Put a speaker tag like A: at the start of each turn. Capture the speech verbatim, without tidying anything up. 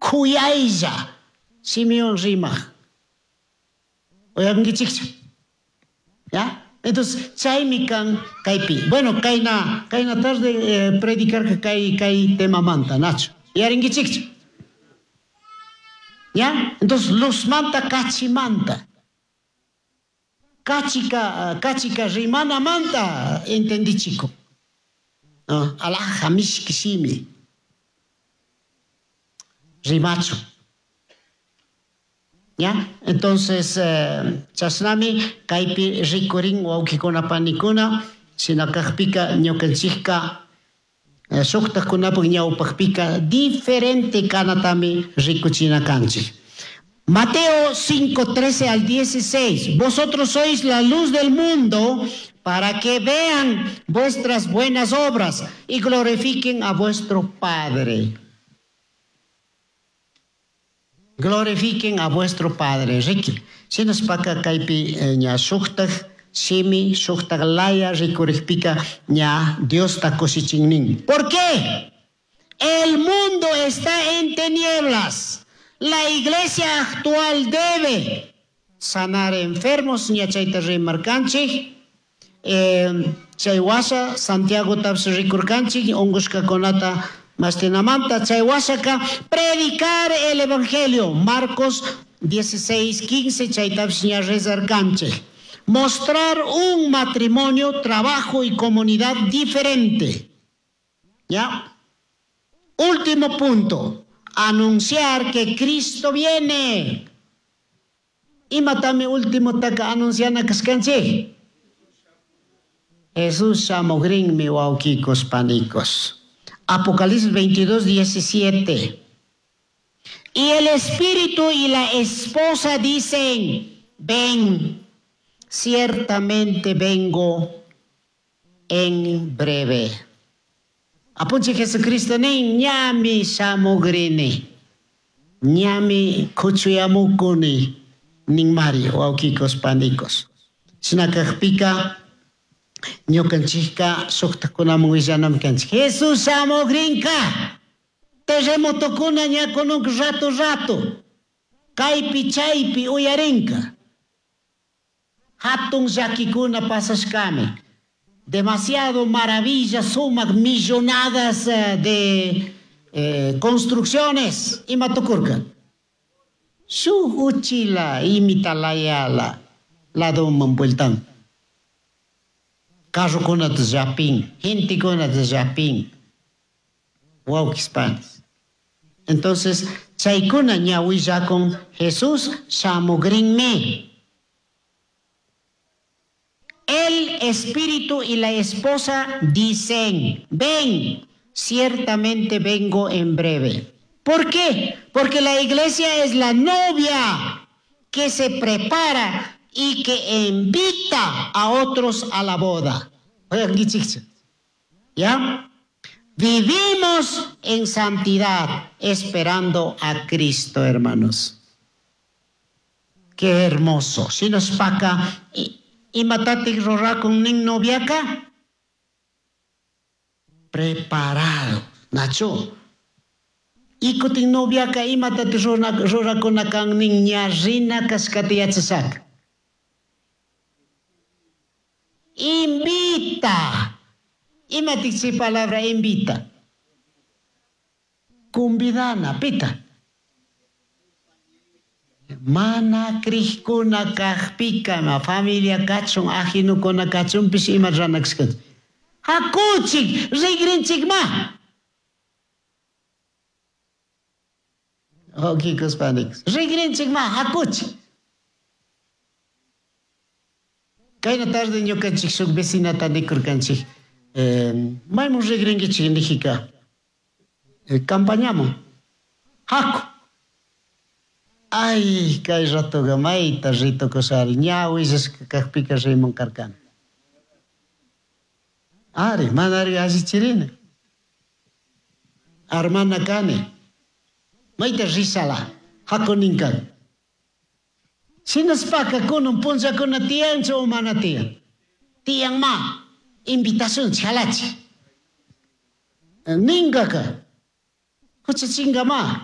A: Kuyaylla shimiwan rimaq. Uyankichikchu? ¿Ya? Entonces, chaymi kan kaypi. Bueno, kayna, kayna tarde eh, predicarka kay, kay temamanta, nachu. Yarinkichikchu? ¿Ya? Entonces, luzmanta kachimanta. Kachika, kachika rimanamanta entendichiko. Ah, alhaja mishki shimi. Rimachu. ¿Ya? Entonces, eh, chashnami kaypi rikurin wawkikuna panikuna shina kakpika ñukanchikka eh, shuktakunapak ñawpakpika diferente kanatami rikuchina kanchik. Mateo cinco, trece al dieciséis. Vosotros sois la luz del mundo para que vean vuestras buenas obras y glorifiquen a vuestro Padre. Glorifiquen a vuestro Padre. Riki. Shinaspaka kaypi eh, ña shuktak shimi, shuktak laya rikurikpika ña Diosta kushichin. ¿Por qué? El mundo está en tinieblas. La iglesia actual debe sanar enfermos, ña chayta rimarkanchik. Eh, chay washa Santiago tapish rikurkanchik, ungushkakunata mastinamanta, chay washaka predicar el evangelio. Marcos dieciséis, quince, chaytapish ña rezarkanchik. Mostrar un matrimonio, trabajo y comunidad diferente. ¿Ya? Último punto. Anunciar que Cristo viene. Imatami último taka anunciana kashkanchik. Jesús shamugrinmi wawkikos panikos. Apocalipsis veintidós, diecisiete. Y el espíritu y la esposa dicen: ven, ciertamente vengo en breve. Apunchik Jesucristo nin ñami shamugrini. Ñami kuchuyamukuni ninmari wawkikos panikos. Shina kakpika ñukanchikka shuktakunaman willanami kanchik. Jesús shamugrinka. Terremotokuna ña kununk rato rato. Kaypi chaypi uyarinka. Hatun llakikuna pasashkami. Demasiado maravillas, sumak millonadas, eh, de, eh, construcciones. Ima tukurka. Shuk uchila imitalayala ladoman vueltan. Carrokunata llapin, gentekunata llapin. Wawkis panis. Entonces, chaykuna ña willakun Jesús shamugrinmi. El espíritu y la esposa dicen: ven, ciertamente vengo en breve. ¿Por qué? Porque la iglesia es la novia que se prepara y que invita a otros a la boda. Oigan, ¿ya? Vivimos en santidad esperando a Cristo, hermanos. Qué hermoso. Si nos paca, imatatik rurakun nin noviaka? Preparado. Nacho. Ikutin noviaka imatati rurakuna kan nin ña rina kashkata yachashaka. Invita. Imatik chay palabra invita? Kumbidana, pita. Mana krikuna kakpika, ma familia kachun, ajinukuna kachunpish ima ranakshkan. Hakuchik, rigrinchik ma. Okikos panikos. Rigrinchik ma, hakuchik. Kayna tarde ñukanchik shuk vecinata nikurkanchik. Eh, maymun rigrinkichik nijika. Eh, campañamun. Haku. Ay, kay ratoqa mayta ritukusari. Ña willashka kakpika rimun karkani. Ari, manari allichirina. Armana kani. Mayta risala. Haku ninkan. Shinaspaka kunun punllakuna tiyanchu o mana tiyan? Tiyan ma. Invitación chalachi. Ninkaka. Huchachinga ma.